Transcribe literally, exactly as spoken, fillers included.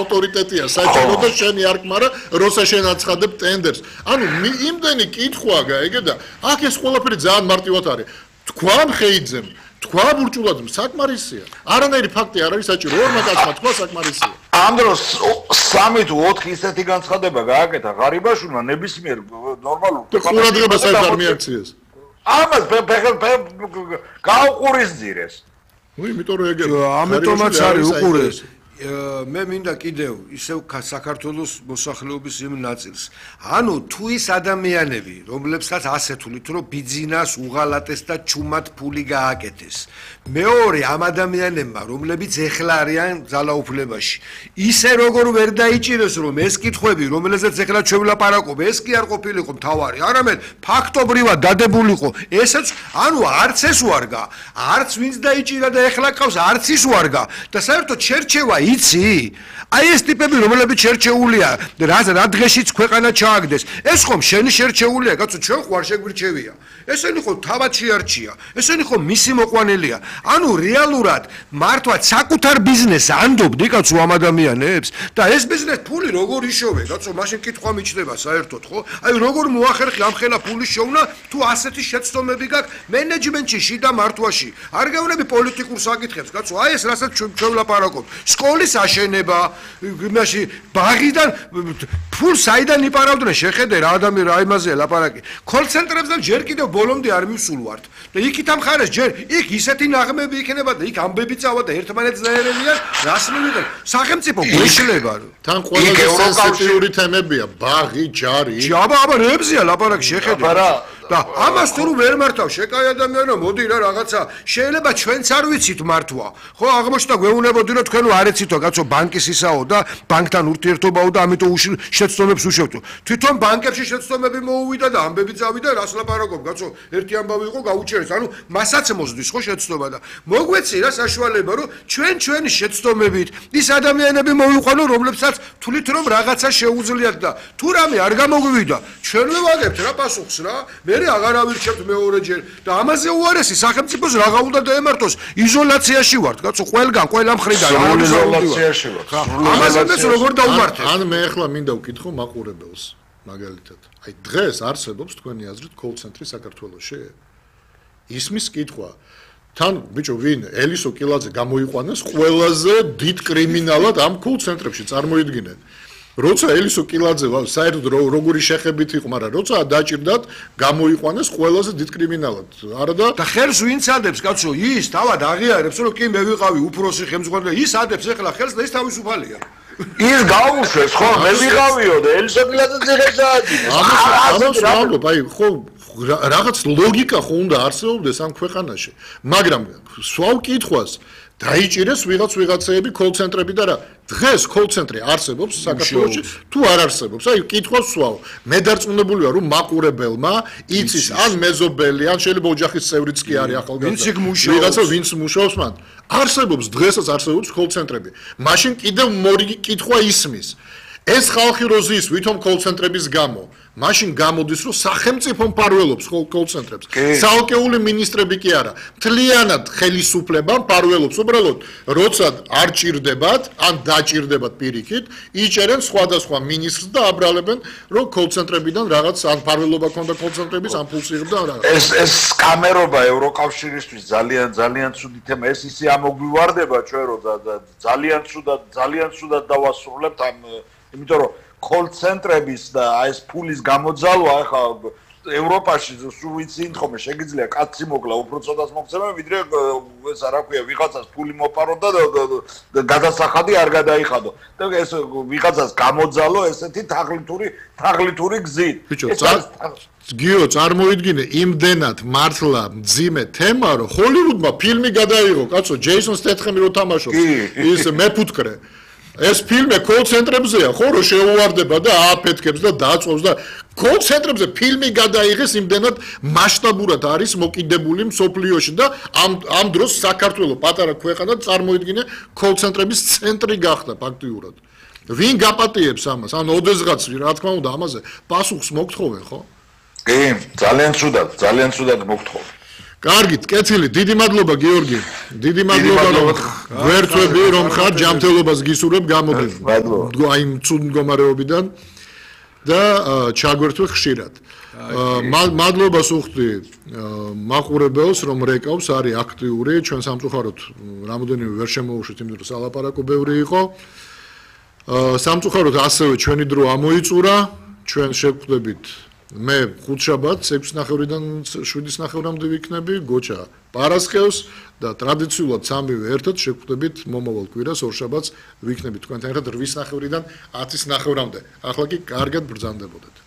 ავტორიტეტია საჭირო და შენი არ გმარა როცა შენ აცხადებ ტენდერს ანუ იმდენი კითხვაა გაიგე და აქ ეს ყველაფერი ძალიან მარტივად არის თქვა მხეიძემ თქვა ბურჭულაძემ საკმარისია არანაირი ფაქტი არ არის საჭირო ორმა კაცმა თქვა საკმარისია ამ დროს სამი თუ ოთხი ისეთი განცხადება გააკეთა ღარიბაშვილმა ნებისმიერ ნორმალურ ყურადღებას არ მიაქციეს ამას გაუყურისძირეს ნუ იმიტომ რომ ეგ ამიტომაც არის უყურე მე მინდა კიდევ ისევ საქართველოს მოსახლეობის იმ ნაწილს ანუ თუ ის ადამიანები რომლებსაც ასეთ თulit რომ ბიძინას უღალატეს და ჩუმად ფული გააკეთეს მეორე ამ ადამიანებმა რომლებიც ეხლა არიან ძალაუფლებაში ისე როგორ ვერ დაიჭირეს რომ ეს კითხვები რომელზეც ეხლა ჩვენ ვლაპარაკობ ეს კი არ ყოფილიყო მთავარი არამედ ფაქტობრივად დადებულიყო ესეც ანუ არც ეს ვარგა არც ვინც დაიჭირა და ეხლა ყავს არც ის ვარგა და საერთოდ შერჩევა იცი აი ეს ტიპები რომლებიც შერჩეულია რა რა დღეშიც ქვეყანა ჩააგდეს ეს ხომ შენი შერჩეულია კაცო ჩვენ ხო არ შეგვირჩევია ესენი ხო თავად შეარჩია ესენი ხო მისი მოყვანილია ანუ რეალურად მართლა საკუთარ ბიზნესს ანდობდი კაცო ამ ადამიანებს და ეს ბიზნეს ფული როგორ იშოვე კაცო მაშინ კითხვა მიჩნდება საერთოდ ხო აი როგორ მოახერხი ამ ხელა ფული შოვნა თუ ასეთი შეცდომები გაქვს მენეჯმენტში შიდა მართვაში არ გეუბნები პოლიტიკურ საკითხებს კაცო აი ეს რასაც ჩვენ ვლაპარაკობ სკოლის აშენება იმაში ბაღიდან ფულს საიდან იპარავდნენ შეხედე რა ადამიანი რა იმაზეა ლაპარაკი კოლცენტრებზე ჯერ კიდევ ბოლომდე არ მივსულვართ და იქით ამ ხარეს ჯერ იქ ისეთი ნაღმები იქნება და იქ ამბები წავა და ერთმანეთს დაერევიან რას მივიღებ სახელმწიფო გვეშლება თან ყველაზე სენსიტიური თემებია ბაღი ჯარი აბა აბა რებზია ლაპარაკი შეხედე და ამას თუ ვერ მართავ შეკაი ადამიანო მოდი რა რაღაცა შეიძლება ჩვენც არ ვიცით მართვა ხო აღმოჩნდა გვეუბნებოდი რომ თქვენ არ ეცითო კაცო ბანკის ისაო და ბანკთან ურთიერთობაო და ამიტომ შეცდომებს უშევთო თვითონ ბანკებში შეცდომები მოუვიდა და ამბები წავიდა რას ლაპარაკობ კაცო ერთი ამბავი იყო გაუჩერეს ანუ მასაც მოსდის ხო შეცდომა და მოგვეცი რა საშუალება რომ ჩვენ ჩვენი შეცდომებით ის ადამიანები მოვიყვანო რომლებსაც თulit რომ რაღაცა შეუძლიათ და თუ რამე არ გამოგვივიდა ჩვენ ვიღებთ რა პასუხს რა მე აღარ ავირჩევთ მეორეჯერ და ამაზე უარესი სახელმწიფოს რაღა უნდა დაემართოს იზოლაციაში ვართ კაცო ყველგან ყველა მხრიდან იზოლაციაში ვართ ამაზე როგორ დაუმართეთ ან მე ახლა მინდა ვკითხო მაყურებელს მაგალითად აი დღეს არსებობს თქვენი აზრით კოლ-ცენტრი საქართველოში ისმის კითხვა თან ბიჭო ვინ ელისო კილაძე გამოიყვანეს ყველაზე დიდ კრიმინალად ამ კოლ-ცენტრებში წარმოიდგინეთ როცა ელისო კილაძე საერთოდ როგორი შეხებით იყო მაგრამ როცა დაჭირდათ გამოიყვანეს ყველაზე დიდ კრიმინალად არა და და ხელს ვინც ადებს კაცო ის თავად აღიარებს რომ კი მე ვიყავი უფროსი ხელმძღვანელი ის ადებს ახლა ხელს და ის თავისუფალია ის გაუშვეს ხო მე ვიყავიო და ელისო კილაძე ძიღებს ააჭირეს ამას ვამბობ აი ხო რაღაც ლოგიკა ხო უნდა არსებობდეს ამ ქვეყანაში მაგრამ სვავ კითხვას დაიჭირეს ვიღაც ვიღაცეები კოლ-ცენტრები და რა დღეს კოლ-ცენტრი არსებობს საქართველოში თუ არ არსებობს აი კითხვას სვავ მე დარწმუნებული ვარ რომ მაყურებელმა იცის ან მეზობელი ან შეიძლება ოჯახის წევრიც კი არის ახალგაზრდა ვიღაცა ვინც მუშაობს მან არსებობს დღესაც არსებობს კოლ-ცენტრები მაშინ კიდევ მორიგი კითხვა ისმის ეს ხალხი როზის ვითომ კოლ-ცენტრების გამო მაშინ გამოდის რომ სახელმწიფო მფარველობს კოლ-ცენტრებს ცალკეული მინისტრები კი არა მთლიანად ხელისუფლება მფარველობს უბრალოდ როცა არ ჭირდებათ ან დაჭირდებათ პირიქით იჭერენ სხვადასხვა მინისტრს და აბრალებენ რომ კოლ-ცენტრებიდან რაღაც ან მფარველობა ქონდა კოლ-ცენტრების ან ფულს იღებდა რა ეს ეს სკამერობა ევროკავშირისთვის ძალიან ძალიან ცუდი თემა ეს ისე ამოგვივარდება ჩვენ რომ ძალიან ცუდად ძალიან ცუდად დავასრულებთ ამ იმიტომ რომ კოლ-ცენტრების და ეს ფულის გამოძალვა ახლა ევროპაში სულ ვიცი თხომე შეგიძლია კაცი მოკლა უფრო ცოტას მოგცემა ვიდრე ეს არა ქვია ვიღაცას ფული მოპარო და გადასახადი არ გადაიხადო და ეს ვიღაცას გამოძალო ესეთი თაღლითური თაღლითური გზით გიო წარმოიდგინე იმდენად მართლა მძიმე თემა რომ ჰოლივუდმა ფილმი გადაიღო კაცო ჯეისონ სტეთხემი რო თამაშობს ის მეფუტკრე ეს ფილმი კოლ-ცენტრებზეა ხო რომ შეუვარდება და ააფეთქებს და დაწვევს და კოლ-ცენტრებზე ფილმი გადაიღეს იმდენად მასშტაბურად არის მოკიდებული მსოფლიოში და ამ ამ დროს საქართველოს პატარა ქვეყანა წარმოიდგინე კოლ-ცენტრების ცენტრი გახდა ფაქტიურად ვინ გაპატიებს ამას ან ოდესღაც რა თქმა უნდა ამაზე პასუხს მოგთხოვენ ხო კი ძალიან ცუდად ძალიან ცუდად მოგთხოვენ კარგით, კეთილი, დიდი მადლობა გიორგი. დიდი მადლობა რომ გვერდები რომ ხარ ჯანმრთელობას გისურვებ გამოდი. მადლობა. აი ცუდ მდგომარეობიდან და ჩაგვერთვე ხშირად. მადლობას უხდი მაყურებელს რომ რეკავს არის აქტიური ჩვენ სამწუხაროდ რამოდენიმე ვერ შემოუშვით იმიტომ რომ სალაპარაკო ბევრი იყო. სამწუხაროდ ასევე ჩვენი დრო ამოიწურა ჩვენ შევხვდებით მე ხუთშაბათს ექვსი ნახევრიდან შვიდის ნახევრამდე ვიქნები გოჩა პარასხევს და ტრადიციულად სამივე ერთად შევხვდებით მომავალ კვირას ორშაბათს ვიქნებით თქვენთან ერთად რვის ნახევრიდან ათის ნახევრამდე ახლა კი კარგად ბრძანდებოდეთ